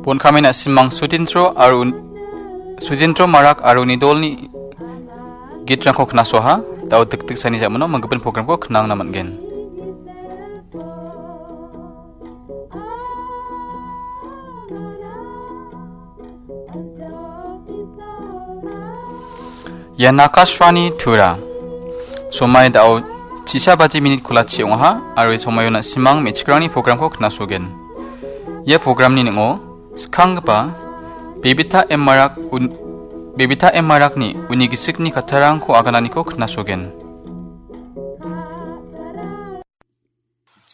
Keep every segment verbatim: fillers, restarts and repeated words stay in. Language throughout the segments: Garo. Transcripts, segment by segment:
Bon kami na·simang Sudintro aro un-, Sudintro Marak aro uni dolni gitrangko knasoaha, da·o dikdiksani ja·mano manggipin programko knangna man·gen. Ian Akashvani Tura. Somai da·o chisa baji minit kolachi ong·aha, aro ia somaio na·simang me·chikrangni programko knasogen. Ia programni ning·o skanggipa Bebita M Marak un-, Bebita M Marakni uni gisikni kattarangko agananiko knasogen.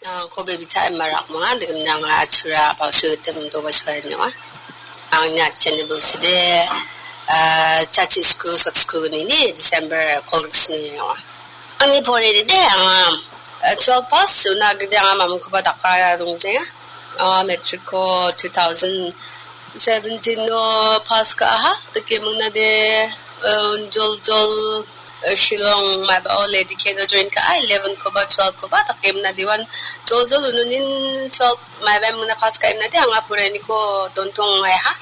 Ah, ko Bebita M Marak mong·a, degimna anga Tura Pasu Tem do ba suai nyawa. Angni atchen ni bilside, ah, chachi sku sak sku ni ni December kolgis ni nyawa. Angni pore de de anga, ah, twelve pass, una gede anga mamung kuba daka ya dong de. Ah, matric ko two thousand seventeen o pass ka aha, deke mung na de, ah, jol jol, eh, Shillong maiba o Lady K no join ka, ah, eleven ko ba, twelve ko ba, takem na diwan jol jol ununin twelve maiba muna pass ka imna de, anga purani ko dontong ai ha.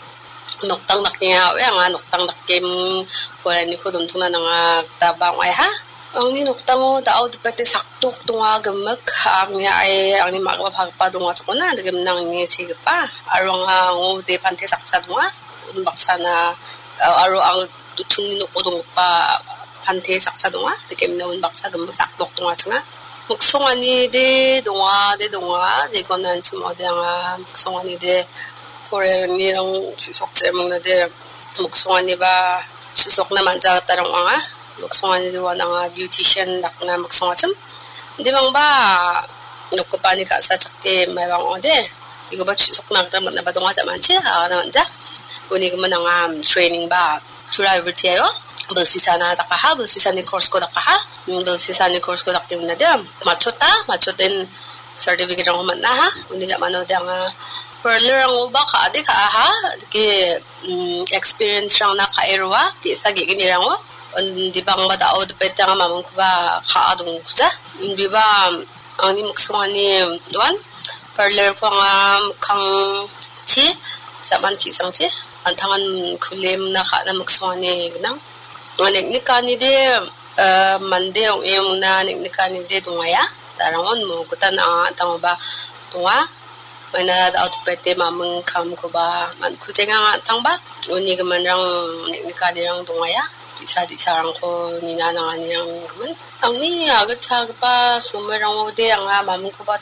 Noktang dak nia, we anga noktang dak kem purani ko dontong na nanga tabang ai ha. Angni noktango da·o dipete sakdok donga gimik, angni ai, angni ma·gipa pagipa donga chokona, degimna angni segipa. Aro anga ango de pante saksa donga, unbaksana, eh, aro ang duchungni noko donggipa pante saksa donga. Dikemina unbaksa gimik sakdok donga chinga. Miksongani de donga, de donga, jekon anchimo de anga miksongani de porerni rang chisok chemang de miksongani ba chisokna manja gita rang anga. Miksongani de wan anga beautician dakna miksong achim. De bangba nokgipani ka·sa chake mai bang ode. Ikoba chisokna gita man·aba donga jamanchi, agana manja. Uni gimin anga training ba Tura everything ayo. Bilsisana dakaha, bilsisani course ko dakaha. Mm, bilsisani course ko dakdimna de. Machota, machoten certificate rangko man·aha. Uni jamano de anga parlor rango ba ka·ade ka·aha. Dike, mm, experience rangna ka·e roa. Ge·sa ge·gni rango. Undi bangba da·o dipete anga mamungkoba ka·a dongkuja. Undiba angni miksongani doan. Parlor ko anga mikkangchi, jaman ki·sangchi, an·tangan kulemna ka·na miksongani gnang. Anga neng·nikani de, eh, mande ong·e ong·na neng·nikani de dongaia. Darangon mo gita na an·tangoba donga. Maina da·o dipete mamung kamkoba man·kujenga an·tangba. Uni giminrang neng·nikanirang dongaia. Bi·sa di·sarangko nina nanganirang gimin. Angni agitchagipa somoirango de anga mamungkoba